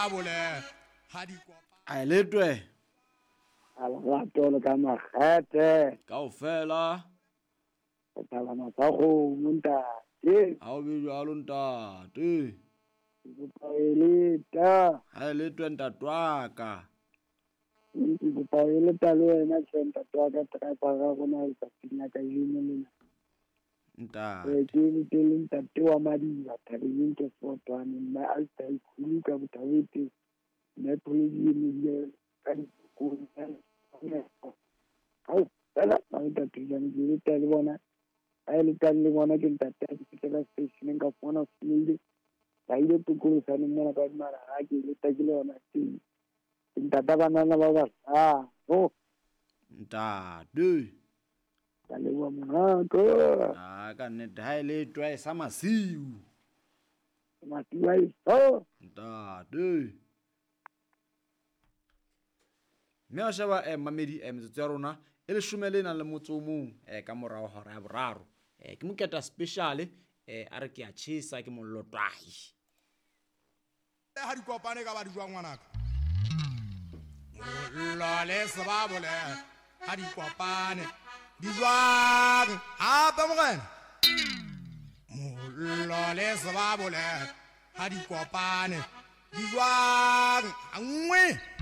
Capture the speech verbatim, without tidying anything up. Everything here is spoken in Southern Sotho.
sebabole ha di kopane. A letwe. Ala le ka makgethe. Kaofela. O tala matsago ntate. Ha o be jwalo ntate. Ke kopa eleta. Ha e letwe ntate wa ka. Ke kopa eleta le wena hle ntate wa ka driver ya rona letsatsing la kajeno lena. Ntate. Ke le le ntate wa Madiba thabeng ke fotwane mme a tsa ikhulu ka bothabete mme pholedi e ka dikolo. Au fela ba ntate jang ke le le bona a le tang le bona ke ntate a ke la station ka fona sile ba ile tokolosane mona ka mara ha ke le takile yona teng ntate bana ba ba ah oh ntate ka leboha monghaka. Ah ka nnete ha ile twa sa masiu masiu a iso ntate. Mme a sheba eh mamedi eh metsotso ya rona e leshome le nang le motso o mong eh ka morao hora ya boraro eh ke moketa special eh a re ke a tjhesa ke mollo twahi ha di kopane ka ba di jwang ngwanaka mollo le sebabole ha di kopane di jwang hape morena mollo le sebabole ha di kopane di jwang nngwe.